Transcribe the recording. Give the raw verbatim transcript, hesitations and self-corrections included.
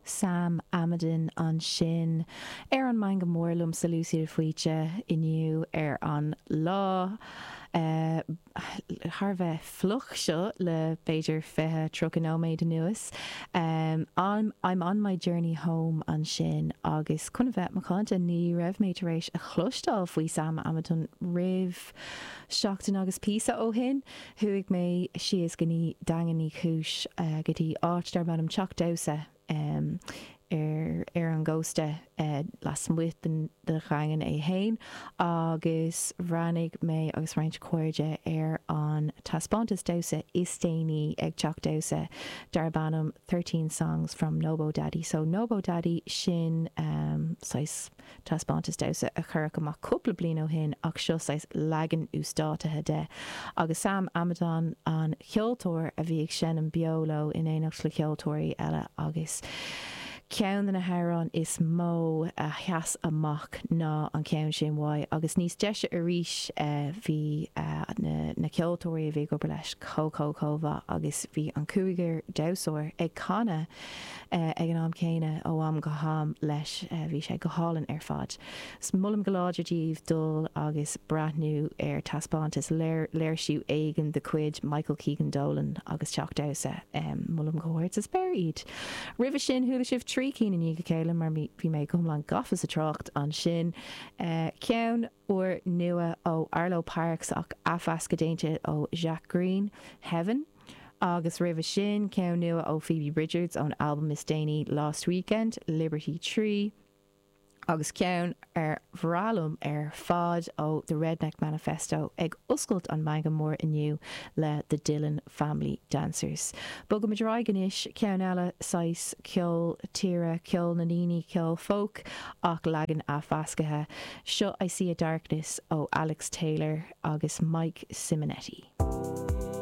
Sam Amidon ansin ar an Meangadh Mór liomsa Lucy de Faoite inniu ar an lá uh, thar bheith fliuch seo le b'fhéidir fiche tríocha nóiméad anuas. Um, I'm, I'm on my journey home ansin agus chun bheith macánta ní raibh mé tar éis a chloisteáil faoi Sam Amidon roimh seachtain agus píosa ó shin, chuaigh mé síos go dtí Daingean Uí Chúis uh, go dtí áit darb ainm Teach Damhsa um, ar ar an gcósta uh, lasmuigh den de Dhaingean é féin agus bhreathnaigh mé agus roinnt cairde ar an taispeántas damhsa is déanaí ag Teach Damhsa darb ainm Thirteen Songs from Nobo Daddy. So Nobo Daddy sin um, saghas taispeántas damhsa a cuireadh amach cúpla bliain ó shin ach seo saghas leagan uasdátaithe de. Agus Sam Amidon an ceoltóir a bhí ag seinm beo leo in éineacht le ceoltóirí eile agus ceann de na hamhráin is mó a sheas amach ná an ceann sin uaidh agus níos deise arís uh, bhí uh, na, na ceoltóirí a bhí ag obair leis chomh chomh chomh agus bhí an cúigear damhsóir ag canadh uh, ag an am céanna ó am go ham leis uh, bhí sé go hálainn ar fad. 'S molaim go láidir daoibh dul agus breathnú ar taispeántas léir léirsiú éigin de chuid Michael Keegan Dolan agus Teach Damhsa um, molaim go hard sa spéir iad. Roimhe sin chuala sibh trí cinn i ndiaidh a chéile mar bhí mé go hiomlán gafa sa trácht ansin. Uh, ceann úr nua ó Arlo Parks ach athmheascadh déanta ó Jacques Greene, Heaven. Agus roimhe sin ceann nua ó Phoebe Bridgers ón album is déanaí Last Weekend, Liberty Tree. Agus ceann ar bhreá liom ar fad ó The Redneck Manifesto ag oscailt an Meangadh Mór inniu le The Dillon Family Dancers. Bogaimid ar aghaidh anois ceann eile saghas ceol tíre ceol na ndaoine ceol folk ach leagan athmheasctha. Seo I See a Darkness ó Alex Taylor agus Mike Simonetti.